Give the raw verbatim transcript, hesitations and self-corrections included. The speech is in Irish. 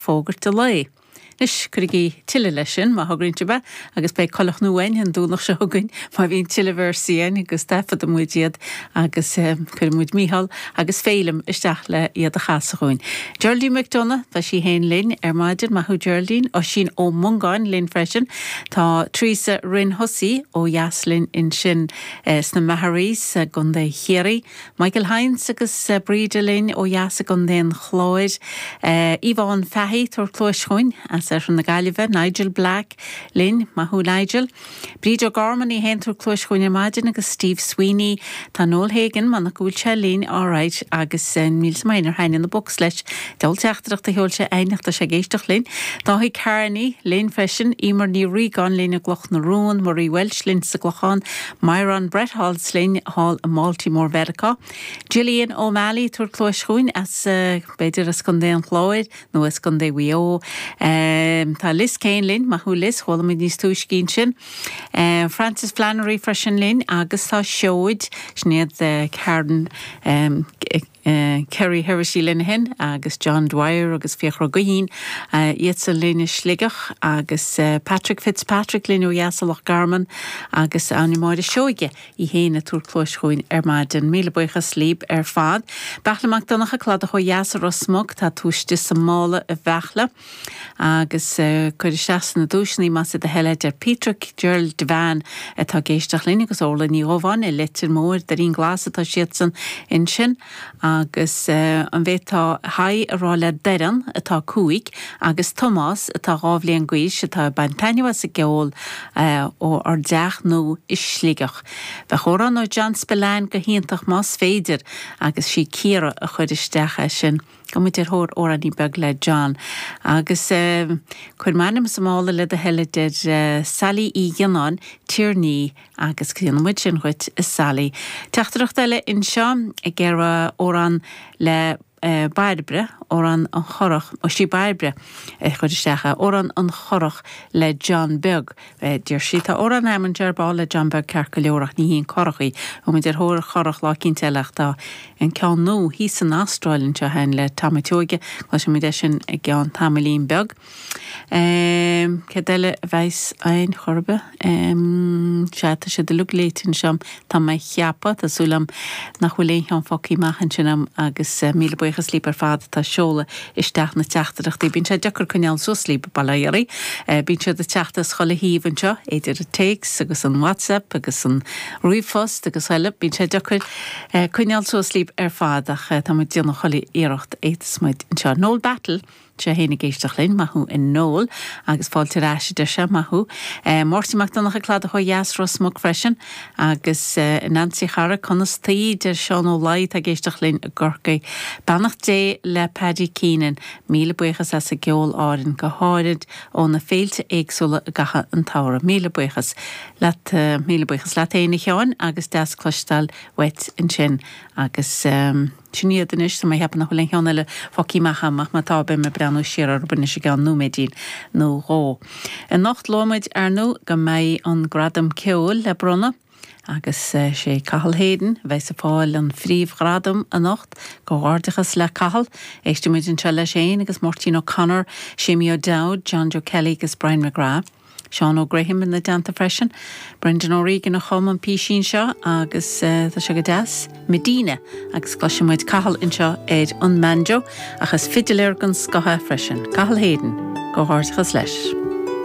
Fógairt a lae. Anois cuirigí tuilleadh leis sin má thograíonn sibh é agus beidh coileach nua againn an Domhnach seo chugainn má bhíonn tuilleadh véarsaí againn agus taifeadfaidh muid iad agus cuirfidh muid Mícheál agus Féilim isteach le iad a chasadh dhúinn. Geraldine McDonagh, tá sí féin linn ar maidin, maith thú Geraldine, Oisín Ó Mongáin linn freisin. Tá Teresa Rinn Hussey ó dheas linn ansin sna Magherays i gContae Chiarraí. Michael Hynes agus Bríde linn ó dheas i gContae an Chláir. Yvonne Fahy tabhair cluais chugainn as Oirthear na Gaillimhe, Nigel Black linn, maith thú Nigel. Bríd O'Gorman í féin tabhair cluais chugainn ar maidin agus Steve Sweeney. Tá Noel Hagan man go bhfuil sé linn alright agus níl 's agam ar thaitnigh na books leis. Deabhal teachtaireacht a sheol sé aineach tá sé ag éisteacht linn. Dáithí Carney linn freisin, Emer Ní Ríogáin linn i gCloch na Rón, Marie Welsh linn sa gClochán, Myron Bretholz linn thall i mBaltimore Mheiriceá. Gillian O'Malley tabhair cluais chugainn as b'fhéidir as Contae an Chláir nó as Contae Mhaigh Eo. Um, tá Liz Kane linn, maith thú Liz, chuala muid níos túisce sin. Uh, Francis Flannery freisin linn agus tá seoid sin iad uh, Karen um, Uh, Kerry Heresy Linehan agus John Dwyer agus Fiachra Guhín uh, iad sa linne Sligeach agus uh, Patrick Fitzpatrick linn ó dheas Loch Garman agus Áine Máire Seoige í féin ag tabhairt cluais chugainn ar maidin míle buíochas libh ar fad. Beachla Mac Donncha Cladach ó dheas Ros Muc tá tú istigh sa mála a Bheachla agus uh, cuir isteach na duaiseanna más do thoil é deir Peter Gerald Devan atá ag éisteacht linn agus Orla Ní Dhubháin i Leitir Móir Doirín Glas atá siadsan ansin agus uh, an bhféadfá haigh a rá le Doireann atá cúig agus Tomás atá dhá bhliain d'aois atá ag baint taitneamh as an gceol uh, ó ár dteach nó i Sligeach. Bheadh amhrán ó John Spillane go hiontach más féidir agus sí Ciara a chuir isteach é sin. Go muid ar thóir amhránaí beag le John. Agus uh, cuir m'ainm sa mála le do thoil a deir uh, Sally Uí Ghinnáin Tiarnaí agus cíonn muid sin chuit is Sally. Teachtaireacht eile anseo ag iarraidh amhrán le uh, Bairbre amhrán an Churach ó sí Bairbre chuir isteach amhrán an Churach le John Beag. Deir sí tá amhrán am dearbá le John Beag ceart go leor ach ní híon chochaí ó muid ar thóir churach lá cinnte tá an ceann nó hí san Astráil anseo féin le Tamatóige lá sé muid sin i gceann tamaillín beag. Um, Cad eile bheas ein chorbe um, sé tá sé de lu létin sem tá mé cheapa tásúlam nach bhfuil aon cheann fágtha amach ansin agam agus uh, míle buíochas libh ar fad tá seoladh isteach na teachtaireachtaí. Bíonn sé deacair coinneáil suas libh bailairí, bíonn siad ag teacht as chuile thaobh anseo, idir an téacs agus an WhatsApp agus an ríomhphost agus eile, bíonn sé deacair coinneáil suas libh ar fad ach tá muid ag déanamh chuile iarracht a fhéadas muid anseo. Noel Battle sé féin ag éisteacht linn maith thú a Noel agus fáilte ar ais de se maith thú. E, Máirtín Mac Donncha Cladach ó dheas Ros Muc freisin agus uh, Nancy Chara conas taoi de Seán Ó Laoi ag éisteacht linn i gCorcaigh. Beannacht Dé le Paddy Keenan, míle buíochas as an gceol álainn go háirid ó na féilte éagsúla i gcaitheamh an tsamhraidh. Míle buíochas leat uh, míle buíochas leat féin a Sheáin agus deas cloisteáil uait ansin agus um, sin iad anois tá mé ag ceapadh nach bhfuil aon cheann eile fágtha amach amach má tá beidh mé ag breathnú siar ar anois i gceann nóiméidín nó dhó. Anocht luaigh muid ar ndóigh go mbeidh an gradam ceoil le bronnadh agus sé Cathal Hayden bheas ag fáil an phríomhghradam anocht comhghairdeachas le Cathal, Éistfimid anseo leis féin agus Máirtín O'Connor, Séamie O'Dowd, John Joe Kelly agus Brian McGrath. Seán O'Graham ina dteannta freisin, Brendan O'Regan a chum an písín seo agus uh, tá sé go deas Medina agus cloisfimid Cathal anseo ar an mbanjo agus fidiléir den scoth freisin. Cathal Hayden, comhghairdeachas leis.